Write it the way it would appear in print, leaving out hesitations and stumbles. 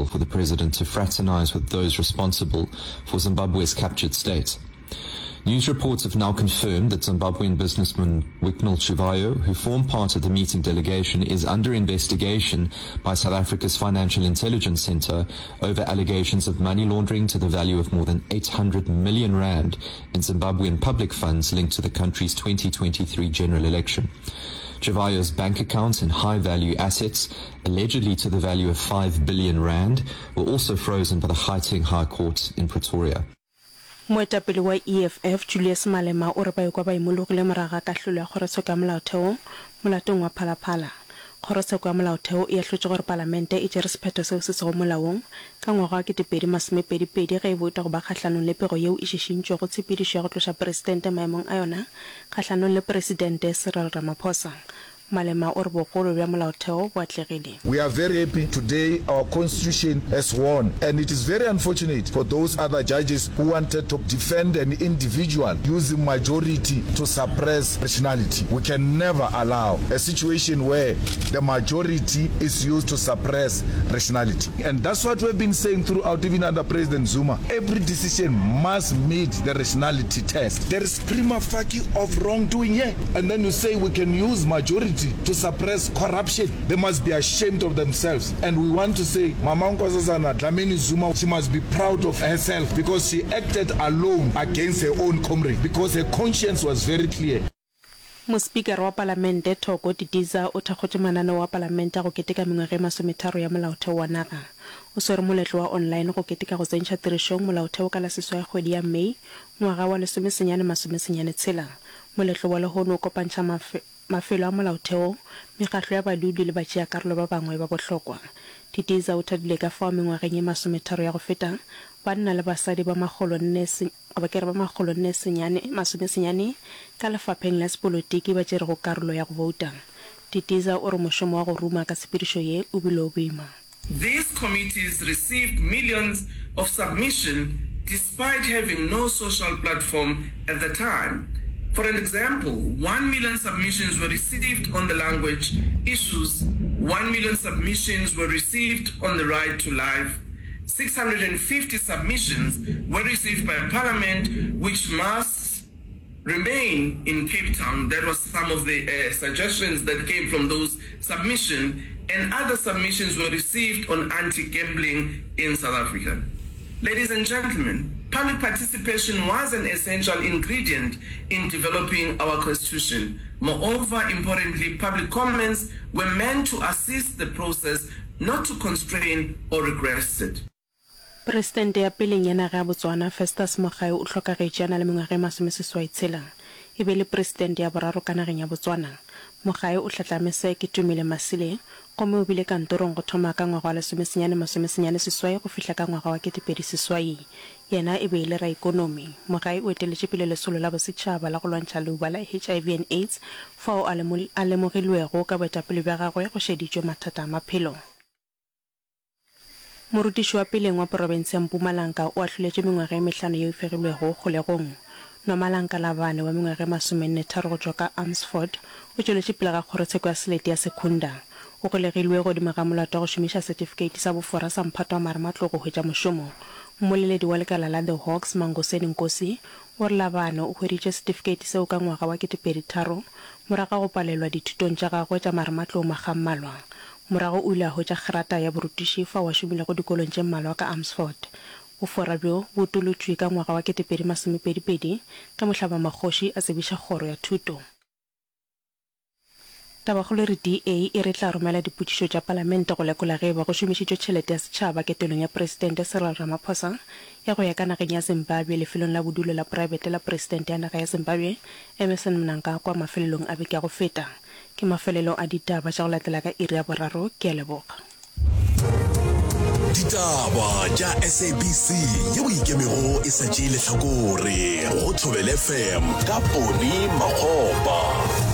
unusual for the president to fraternize with those responsible for Zimbabwe's captured state. News reports have now confirmed that Zimbabwean businessman Wicknell Chivayo, who formed part of the meeting delegation, is under investigation by South Africa's Financial Intelligence Center over allegations of money laundering to the value of more than 800 million rand in Zimbabwean public funds linked to the country's 2023 general election. Chivayo's bank accounts and high-value assets, allegedly to the value of 5 billion rand, were also frozen by the Gauteng High Court in Pretoria. Moetapele wa EFF, Julius Malema o re ba ikwa ba imologile morago ga kahlolo ya Kgorotsheko ya Molaotheo molatong wa Phala Phala. Kgorotsheko ya Molaotheo e ahlotše gore Palamente e tšere sephetho seo se sego molaong ka ngwaga wa 2022 ge e bouta go ba kgahlanong le pego yeo e šišintšwego tshepedišo ya go tloša Presidente maemong a yona kgahlanong le Presidente Cyril Ramaphosa. Malema o re bogolo bja molaotheo bo atlegile. We are very happy today our constitution has won and it is very unfortunate for those other judges who wanted to defend an individual using majority to suppress rationality. We can never allow a situation where the majority is used to suppress rationality and that's what we've been saying throughout even under President Zuma every decision must meet the rationality test. There is prima facie of wrongdoing here and then you say we can use majority to suppress corruption. They must be ashamed of themselves and we want to say Mama Nkosazana Dlamini Zuma she must be proud of herself because she acted alone against her own comrade because her conscience was very clear. Mospikara wa Palamente, Thoko Didiza o thakgotše mananeo a Palamente a go keteka mengwaga e masometharo ya Molaotheo wa naga. O swere moletlo wa online go keteka go tsentšha tirišong Molaotheo ka la seswai kgwedi ya May ngwaga wa lesomesenyane masomesenyane tshela. Moletlo wa lehono o kopantšha mafelo a Molaotheo, mekgahlo ya badudi le batšeakarolo ba bangwe ba bohlokwa. Didiza o thabile ka fao mengwageng ye masometharo ya go feta, banna le basadi ba makgolonne goba ke re ba makgolonne senyane, masomesenyane ka lefapheng la sepolotiki ba tšerego karolo ya go bouta. Didiza o re mošomo wa go ruma ka tshepedišo ye o bile o boima. These committees received millions of submission despite having no social platform at the time. For an example, 1 million submissions were received on the language issues, 1 million submissions were received on the right to life, 650 submissions were received by Parliament which must remain in Cape Town. That was some of the uh, suggestions that came from those submissions and other submissions were received on anti-gambling in South Africa. Ladies and gentlemen, public participation was an essential ingredient in developing our constitution. Moreover, importantly, public comments were meant to assist the process, not to constrain or regress it. Presidente ya peleng ya naga ya Botswana, Festus Mogae o hlokagetše a na le mengwaga e masomeseswai tshela. E be e le presidente ya boraro ka nageng ya Botswana. Mogae o hlatlame Sir Ketumile Masile gomme o bile kantorong go thoma ka ngwaga wa lesomesenyane masomesenyane seswai go fihla ka ngwaga wa 2008. Yena e be e le raikonomi. Mogae o eteletše pele lesolo la bosetšhaba la go lwantšha leuba la HIV and AIDS fao a a lemogilwego ka boetapele bja gagwe go šeditšwe mathata a maphelo. Morutiši wa peleng wa porofense ya Mpumalanga o ahloletšwe mengwaga e mehlano yeo e fegilwego kgolegong. Nomalanga Labane wa mengwaga e masomennetharo go tšwa ka Amersfoort o tšweletše pele ga kgorotsheko ya selete ya Secunda. O golegilwe godimo ga molato wa go šomiša setifikeiti sa bofora sa mphato wa marematlou go hwetša mošomo. Mmoleledi wa lekala la The Hawks, Mangoseni Nkosi, o re Labane o hweditše setifikeiti seo ka ngwaga wa 2003 morago ga go palelwa dithutong tša gagwe tša marematlou makga a mmalwa. Morago o ile a hwetša grata ya borutiši fao a šomilego dikolong tše mmalwa ka Amersfoort. Bofora bjo bo utolotšwe ka ngwaga wa 2022 ge Mohlabamagoši a tsebiša kgoro ya thuto. Tabakgolo e re DA e re e tla romela dipotšišo tša palamente go lekola ge e ba go šomišitšwe tšhelete ya setšhaba ketelong ya Presidente Cyril Ramaphosa ya go ya ka nageng ya Zimbabwe lefelong la bodulo la praebete la Presidente ya naga ya Zimbabwe Emmerson Mnangagwa mafelelong a beke ya go feta. Ke mafelelo a ditaba tša go latela ka iri ya boraro. Ke a leboga. Ditaba tša SABC yeo e ikemego e sa tšee lehlakore go Thobela FM ka Poni Makgopa.